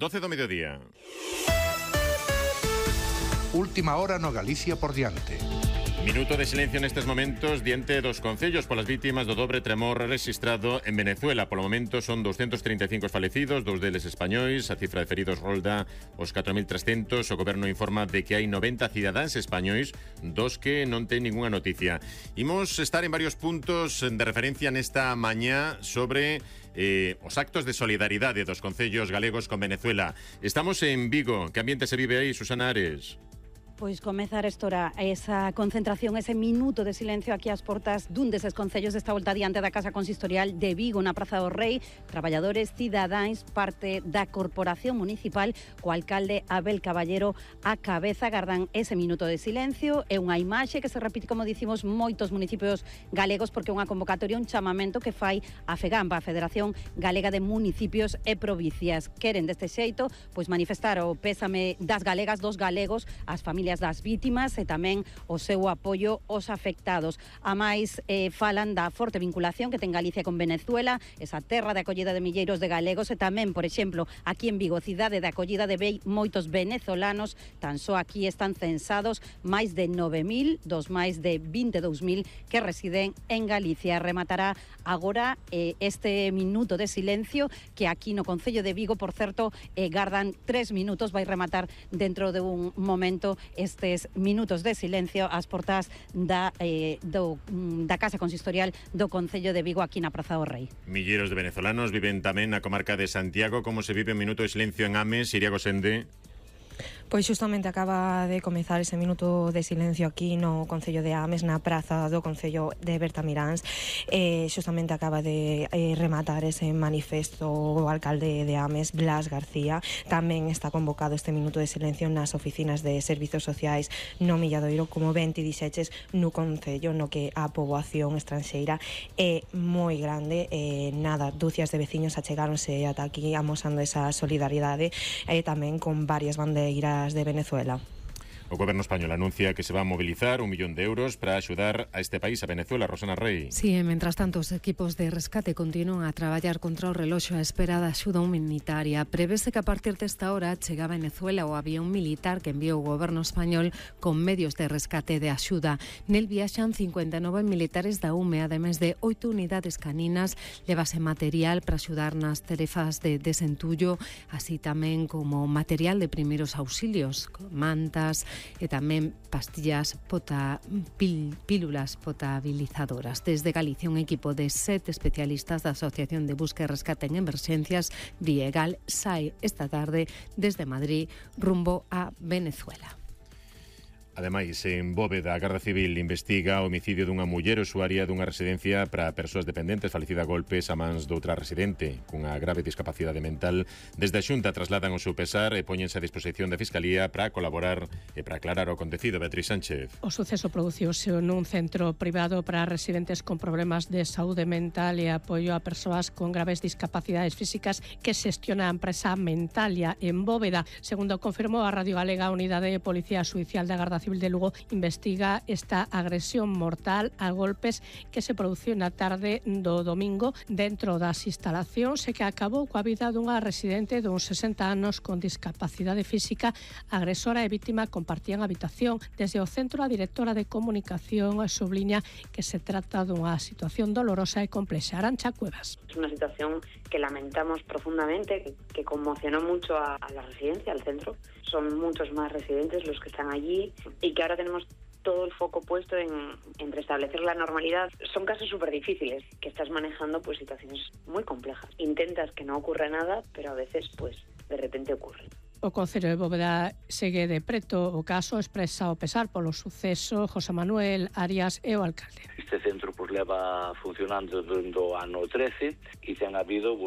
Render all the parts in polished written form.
12 do mediodía. Última hora no Galicia por diante. Minuto de silencio nestes momentos diante dos concellos polas vítimas do dobre tremor registrado en Venezuela. Polo momento son 235 os falecidos, 2 deles españois. A cifra de feridos rolda os 4.300. O goberno informa de que hai 90 cidadáns españois, dos que non ten ningunha noticia. Imos estar en varios puntos de referencia nesta mañá sobre os actos de solidaridade dos concellos galegos con Venezuela. Estamos en Vigo. Que ambiente se vive aí, Susana Ares? Pois comezar estora esa concentración, ese minuto de silencio aquí ás portas dun deses concellos desta volta diante da Casa Consistorial de Vigo, na Praza do Rei. Traballadores, cidadáns, parte da Corporación Municipal, co alcalde Abel Caballero á cabeza, agardan ese minuto de silencio. É unha imaxe que se repite, como dicimos, moitos municipios galegos, porque é unha convocatoria, un chamamento que fai a FEGAMPA, a Federación Galega de Municipios e Provincias. Queren deste xeito pois manifestar o pésame das galegas, dos galegos, as familias das vítimas e tamén o seu apoio aos afectados. A máis falan da forte vinculación que ten Galicia con Venezuela, esa terra de acollida de milleiros de galegos, e tamén, por exemplo, aquí en Vigo, cidade de acollida de moitos venezolanos. Tan só aquí están censados máis de 9.000 dos máis de 22.000 que residen en Galicia. Rematará agora este minuto de silencio que aquí no Concello de Vigo, por certo, gardan 3 minutos, vai rematar dentro de un momento estes minutos de silencio ás portas da Casa Consistorial do Concello de Vigo aquí na Praza do Rei. Milleiros de venezolanos viven tamén na comarca de Santiago. Como se vive un minuto de silencio en Ames, Iria Gosende? Pois xustamente acaba de comezar ese minuto de silencio aquí no Concello de Ames, na praza do Concello de Bertamiráns. Xustamente acaba de rematar ese manifesto o alcalde de Ames, Blas García. Tamén está convocado este minuto de silencio nas oficinas de servizos sociais no Milladoiro, como ben ti dixeches, no Concello, no que a poboación estranxeira é moi grande. Nada, dúcias de veciños achegáronse ata aquí amosando esa solidaridade, tamén con varias bandeiras de Venezuela. O goberno español anuncia que se va a movilizar 1 millón de euros para axudar a este país, a Venezuela. Rosana Rey. Sí, mentras tanto, os equipos de rescate continúan a traballar contra o reloxo a espera da axuda humanitaria. Prevese que a partir desta hora chega a Venezuela o avión militar que enviou o goberno español con medios de rescate de axuda. Nel viaxan 59 militares da UME, ademais de 8 unidades caninas. Levase material para axudar nas tarefas de desentullo, así tamén como material de primeiros auxilios, mantas e tamén pastillas pílulas potabilizadoras. Desde Galicia, un equipo de 7 especialistas da Asociación de Busca e Rescate en Emerxencias, Viegal, sae esta tarde desde Madrid rumbo a Venezuela. Ademais, en Bóveda, a Garda Civil investiga o homicidio dunha muller usuaria dunha residencia para persoas dependentes falecida a golpes a mans doutra residente cunha grave discapacidade mental. Desde a Xunta trasladan o seu pesar e póñense a disposición da Fiscalía para colaborar e para aclarar o acontecido. Beatriz Sánchez. O suceso produciuse nun centro privado para residentes con problemas de saúde mental e apoio a persoas con graves discapacidades físicas que xestiona a empresa Mentalia en Bóveda. Segundo confirmou a Radio Galega, a Unidade de Policía Xudicial da Garda Civil de Lugo investiga esta agresión mortal a golpes que se produciu na tarde do domingo dentro das instalacións e que acabou coa vida dunha residente duns 60 anos con discapacidade física. Agresora e vítima compartían habitación. Desde o centro, a directora de comunicación subliña que se trata dunha situación dolorosa e complexa. Arancha Cuevas. Es una situación que lamentamos profundamente, que conmocionó mucho a la residencia, al centro. Son muchos más residentes los que están allí y que ahora tenemos todo el foco puesto en restablecer la normalidad. Son casos súper difíciles, que estás manejando pues situaciones muy complejas. Intentas que no ocurra nada, pero a veces pues de repente ocurre. O Concello de Bóveda segue de preto o caso, expresa o pesar polo suceso José Manuel Arias e o alcalde. Este centro pues leva funcionando desde o ano 13 e ten habido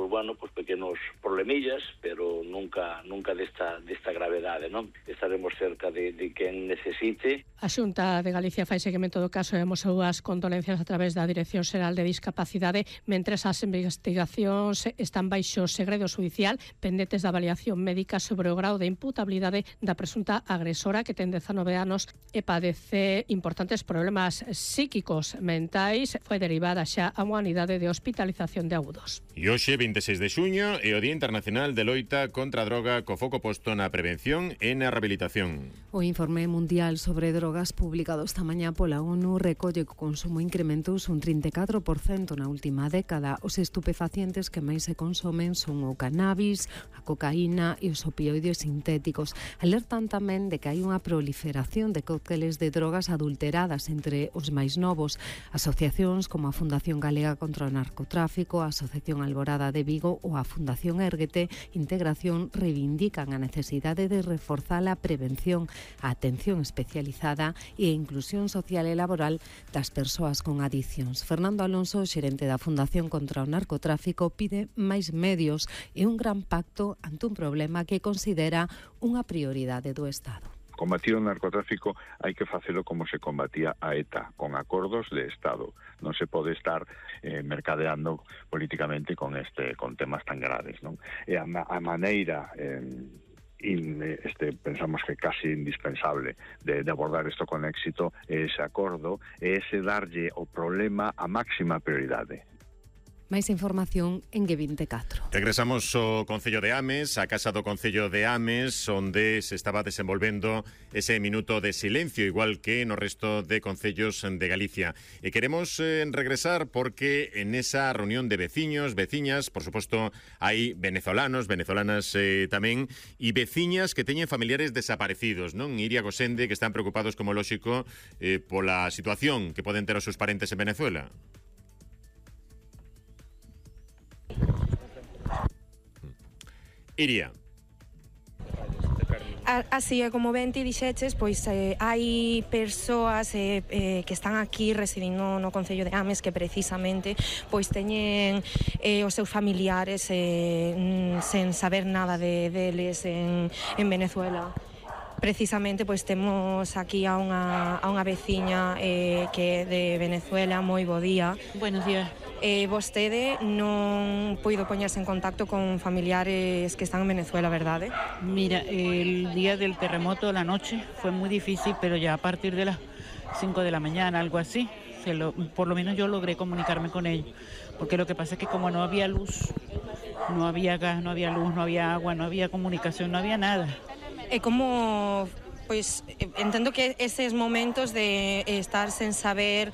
pequenos problemillas, pero nunca desta gravedade, non? Estaremos cerca de quen necesite. A Xunta de Galicia fai seguimento do caso e amosou as condolencias a través da Dirección Xeral de Discapacidade, mentres as investigacións están baixo segredo xudicial pendentes da avaliación médica sobre o grau de imputabilidade da presunta agresora, que ten 19 anos e padece importantes problemas psíquicos mentais. pois foi derivada xa a unha unidade de hospitalización de agudos. E hoxe, 26 de xuño, é o Día Internacional de Loita contra a Droga, co foco posto na prevención e na rehabilitación. O informe mundial sobre drogas publicado esta mañá pola ONU recolle que o consumo incrementouse un 34% na última década. Os estupefacientes que máis se consomen son o cannabis, a cocaína e os opioides sintéticos. Alertan tamén de que hai unha proliferación de cócteles de drogas adulteradas entre os máis novos. Asociacións como a Fundación Galega contra o Narcotráfico, a Asociación Alborada de Vigo ou a Fundación Érguete Integración reivindican a necesidade de reforzar a prevención, a atención especializada e a inclusión social e laboral das persoas con adiccións. Fernando Alonso, xerente da Fundación contra o Narcotráfico, pide máis medios e un gran pacto ante un problema que considera unha prioridade do Estado. Combatir o narcotráfico hai que facelo como se combatía a ETA, con acordos de Estado. Non se pode estar mercadeando políticamente con temas tan graves, non? E a maneira pensamos que casi indispensable de abordar isto con éxito é ese acordo, é ese darlle o problema a máxima prioridade. Máis información en G24. Regresamos ao Concello de Ames, a Casa do Concello de Ames, onde se estaba desenvolvendo ese minuto de silencio, igual que no resto de concellos de Galicia. E queremos regresar porque en esa reunión de veciños, veciñas, por suposto, hai venezolanos, venezolanas tamén, e veciñas que teñen familiares desaparecidos, non? Iria Gosende, que están preocupados, como lóxico, pola situación que poden ter os seus parentes en Venezuela. Iria. Así é, como ben ti dixeches, pois hai persoas que están aquí residindo no Concello de Ames que precisamente pois teñen os seus familiares sen saber nada deles en Venezuela. Precisamente pois temos aquí a unha veciña que é de Venezuela. Moi bo día. Buenos días. Vostede non puido poñerse en contacto con familiares que están en Venezuela, verdade? Mira, el día del terremoto, la noche, fue muy difícil, pero ya a partir de las 5 de la mañana, algo así, por lo menos yo logré comunicarme con ellos. Porque lo que pasa es que como no había luz, no había gas, no había luz, no había agua, no había comunicación, no había nada. E como... Pois entendo que eses momentos de estar sen saber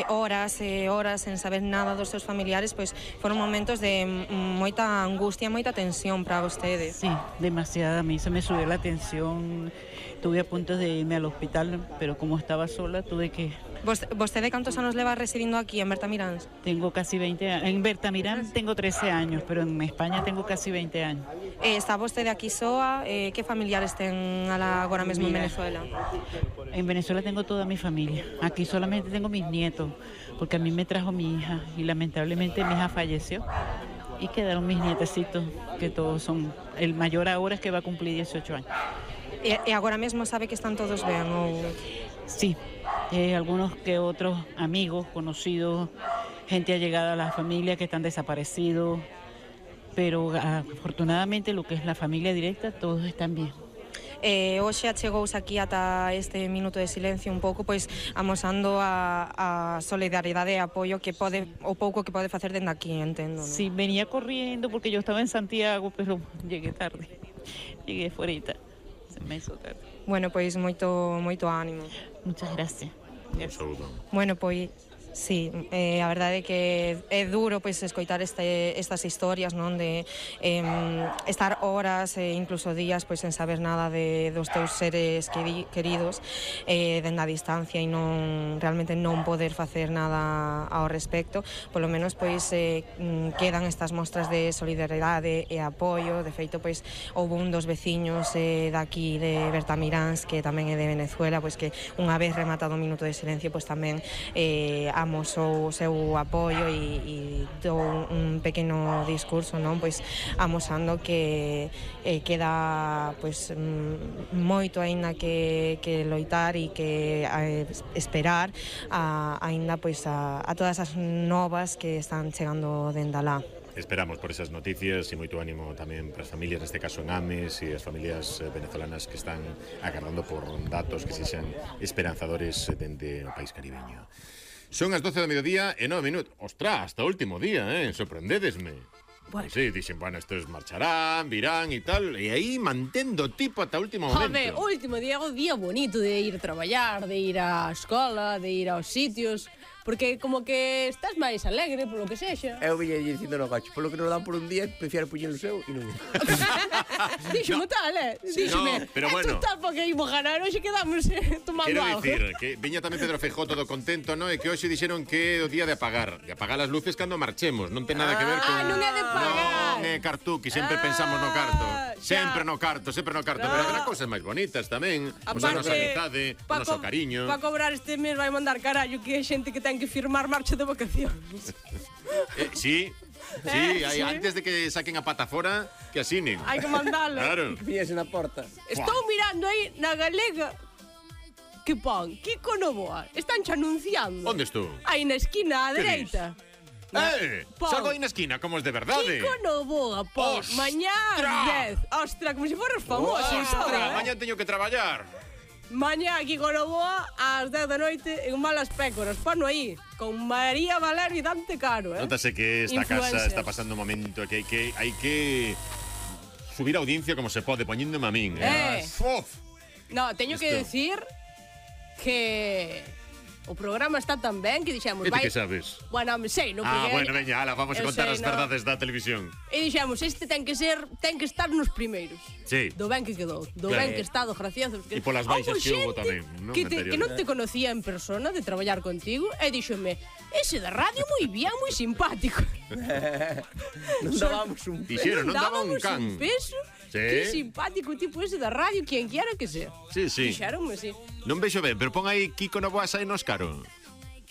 horas e horas, sen saber nada dos seus familiares, pois foron momentos de moita angustia, moita tensión para vostedes. Sí, demasiada. A mí se me subió la tensión. Estuve a punto de irme al hospital, pero como estaba sola tuve que... ¿Vostede cantos anos leva residindo aquí en Bertamiráns? Tengo casi 20 años. En Bertamiráns tengo 13 años, pero en España tengo casi 20 años. Está vostede aquí soa? Que familiares ten agora mesmo en Venezuela? En Venezuela tengo toda mi familia. Aquí solamente tengo mis nietos, porque a mí me trajo mi hija y lamentablemente mi hija falleció. Y quedaron mis nietecitos, que todos son... El mayor ahora es que va a cumplir 18 años. E agora mesmo sabe que están todos ben? Ou... Sí, algunos que otros amigos, conocidos, gente allegada a la familia que están desaparecidos, pero afortunadamente lo que es la familia directa, todos están bien. Hoxe achegouse aquí ata este minuto de silencio un pouco, pois amosando a solidaridade e apoio que pode, o pouco que pode facer dende aquí, entendo, ¿no? Sí, venía corriendo porque yo estaba en Santiago, pero llegué tarde, llegué fuerita. Me hizo tarde. Bueno, pois moito ánimo. Muchas gracias. Un saúdo. Bueno, pois sí, a verdade é que é duro pois escoitar estas historias, non, de estar horas e incluso días pois sen saber nada dos teus seres queridos dende a distancia e non realmente non poder facer nada ao respecto. Polo menos pois quedan estas mostras de solidaridade e apoio. De feito, pois houve un dos veciños daqui de Bertamiráns, que tamén é de Venezuela, pois que unha vez rematado o minuto de silencio, pois tamén amosou o seu apoio e dou un pequeno discurso, non, pois amosando que queda pois moito aínda que loitar e que esperar aínda pois a todas as novas que están chegando dende alá. Esperamos por esas noticias e moito ánimo tamén para as familias, neste caso en Ames, e as familias venezolanas que están agardando por datos que sexan esperanzadores dende o país caribeño. Son as 12 do mediodía e 9 minutos. Ostras, hasta o último día, sorprendedesme. Bueno. Sí, dixen, bueno, estos marcharán, virán e tal, e aí mantendo tipo ata o último momento. Joder, o último día é o día bonito de ir a traballar, de ir á escola, de ir aos sitios, porque como que estás máis alegre polo que sexa. Eu viña dicindo no coche, polo que nos dan por un día, prefiero puñer o seu e non. Díxome tal, díxome, No, pero bueno. tal porque imos ganar, hoxe quedamos tomando Quero algo. dicir, que viña tamén Pedro Feijó todo contento, ¿no? E que hoxe dixeron que é o día de apagar as luces cando marchemos, non ten nada que ver con... non é de pagar. Non é cartuqui, sempre pensamos no carto. Sempre no carto, pero habrá cousas máis bonitas tamén. Pois a nosa amizade, o noso cariño. Para cobrar este mes vai mandar carallo que hai xente que ten que firmar marcha de vacacións. Sí, sí. antes de que saquen a pata fora, que asinen. Hai que mandalo. Claro. Que viñese na porta. Estou mirando aí na galega que pon Kiko Novoa. Están xa anunciando. Onde estou? Aí na esquina á Que dereita. Pon. Salgo aí na esquina, como es de verdade. Kiko Novoa, pon. Ostras. Mañá ás 10. Ostras, como se foras famoso. Ostras, mañá teño que traballar. Mañá Kiko Novoa ás 10 da noite en Malas Pécoras. Pono aí, con María Valero e Dante Caro, Nótase que esta casa Influencers. está pasando un momento que hai que subir a audiencia como se pode, poñéndome a min. Uf. No, teño que Isto. decir que o programa está tan ben que dixemos, E ti que sabes? Bueno, me sei, non? Bueno, veña, ala, vamos a eu contar sei, as no. verdades da televisión. E dixemos, este ten que estar nos primeiros. Sí. Do ben que quedou, do Claro. ben que está, do gracioso. E polas baixas que houbo tamén, non? Que non te conocía en persona de traballar contigo e díxome, ese da radio moi bien, moi simpático. Non dábamos un Dixeron, non daba un can. Un peso. Sí. Que simpático o tipo ese da radio, quien quiera que sea. Sí, sí. Dixeronme, sí. Non vexo ben, pero pon aí Kiko Novoa sai nos caro.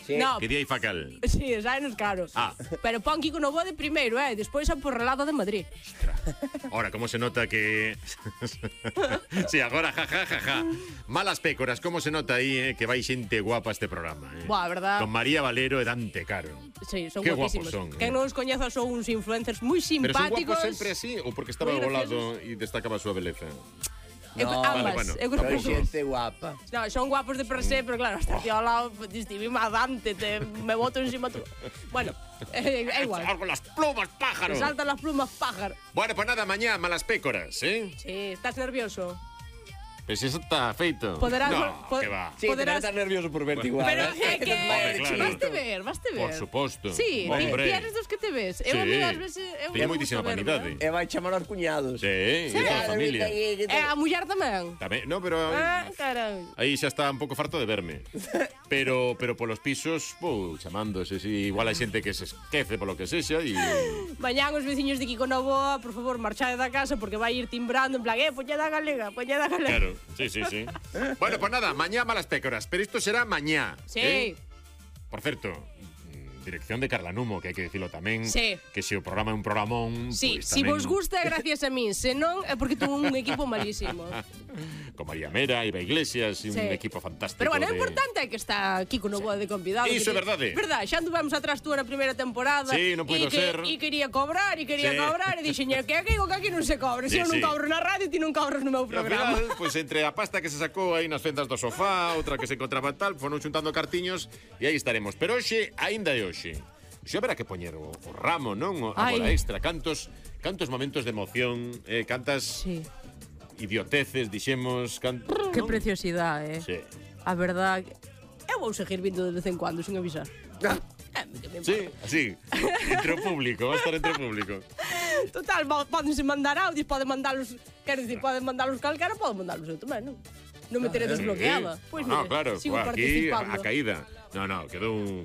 Sí. No, Que día hai facal. sí, xa nos caro. Pero pon Kiko Novoa de primeiro, despois a Porrelada de Madrid. Ahora, como se nota que... sí, agora, ja. Malas Pécoras, como se nota aí, que vai xente guapa este programa. Buah, verdad. Con María Valero e Dante Caro. Sí, son Qué guapísimos. guapos son, Quen non os coñeza son uns influencers moi Pero son simpáticos. guapos sempre así ou porque estaba Moi volado e destacaba a súa beleza? Ambas, bueno. eu creo que Son xente guapa. No, son guapos de per se, pero claro, hasta aquí ao lado estive má Dante, me boto encima tú. Bueno, é igual. Algo las plumas, pájaro. Me saltan las plumas, pájaro. Bueno, pues nada, mañá, Malas Pécoras, Sí, estás nervioso. Pues eso está feito. Poderás... No, que va. Sí, poderás estar nervioso por verte igual. Pero é que... Hombre, claro. Vaste ver. Por suposto. Sí, Hombre. ti eres dos que te ves. Eu a Sí. mí ás veces... Teño moitísima vanidade. E vai chamar aos cuñados. Sí, e toda a familia. E a muller tamén. Tamén, no, pero Carai. aí xa está un pouco farto de verme. Pero polos pisos, chamándose, si igual hai xente que se esquece polo que sexa e Mañán os veciños de Kiko Novoa, por favor, marchade da casa porque vai ir timbrando en plan, poñeda galega, poñeda galega. claro, sí. Bueno, pues nada, mañá Malas Pécoras, pero isto será mañá. Sí. Por certo, dirección de Carla Numo, que hai que dicilo tamén. Sí. Que se o programa é un programón, Sí, pues, si tamén... vos gusta é gracias a min, se non é porque tuvo un equipo malísimo. Con María Mera, Iba Iglesias, un Sí. equipo fantástico. Pero bueno, o de... importante é que está Kiko Novoa de convidado. Iso é verdade. Verdade, xa anduvemos atrás tú na primeira temporada. Sí, non puido ser. E quería cobrar, e dixen, que aquí non se cobre. Se Sí, eu non sí. cobro na radio, ti non cobras no meu E ao programa. final, pues, entre a pasta que se sacou aí nas fendas do sofá, outra que se encontraba tal, foron xuntando cartiños e aí estaremos. Pero hoxe, aínda é hoxe. Xe haberá que poñer o ramo, non? A bola extra. Cantos momentos de emoción, cantas idioteces, dixemos... Que preciosidade, Sí. A verdade, eu vou seguir vindo de vez en cuando, sin avisar. Sí, así, entre o público, va a estar entre o público. Total, pódense mandar audios, poden mandalos, quero dicir, poden mandalos calquera, poden mandalos eu tamén, non? Non me teré desbloqueada. Pois no, mire, claro, sigo aquí participando. a caída. No, quedou un...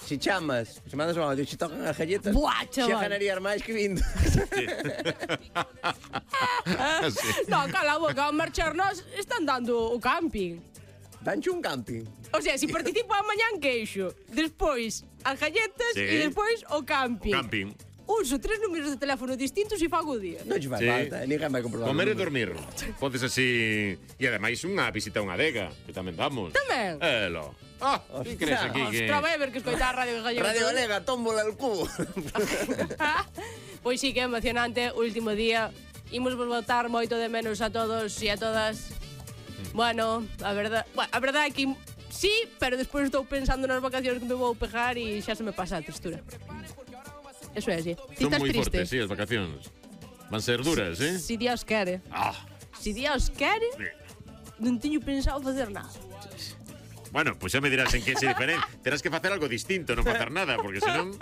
Si chamas, se mandas un audio, se tocan as galletas, Buah, chaval. xa ganarías máis que vindo. Sí. No, cala a boca, ao marchar nós están dando o camping. Danche un camping. O sea, si participo amanhã en queixo, despois as galletas Sí. e despois o camping. O camping. Uso 3 números de teléfono distintos e fago o día. Non che faz Sí. falta, ninguén vai comprobar. Comer e dormir. Podes así... E ademais unha visita a unha adega, que tamén damos. Tamén? Elo. Que crees aquí que... Ostras, vai ver que escoitar a Radio Gallega. Radio Galega, tómbola al cubo. Pois sí que é emocionante o último día. Imos botar moito de menos a todos e a todas. Bueno, a verdade é que Sí, pero despois estou pensando nas vacacións que me vou pegar e xa se me pasa a tristura. Eso é así. Ti Son estás moi triste? fortes, sí, as vacacións. Van ser duras, eh? Si Dios quere. Si Dios quere, non teño pensado facer nada. Bueno, pues xa me dirás en que se diferente. Terás que facer algo distinto, non facer nada, porque senón...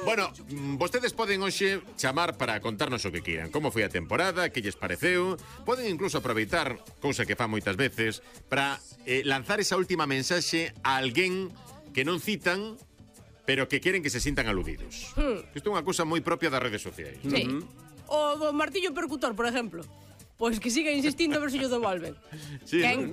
Bueno, vostedes poden hoxe chamar para contarnos o que quieran. Como foi a temporada, que lles pareceu. Poden incluso aproveitar, cousa que fan moitas veces, para lanzar esa última mensaxe a alguén que non citan, pero que queren que se sintan aludidos. Isto é unha cousa moi propia das redes sociais. Sí. O do martillo percutor, por exemplo. Pois que siga insistindo a ver se yo devolven. Sí, Quen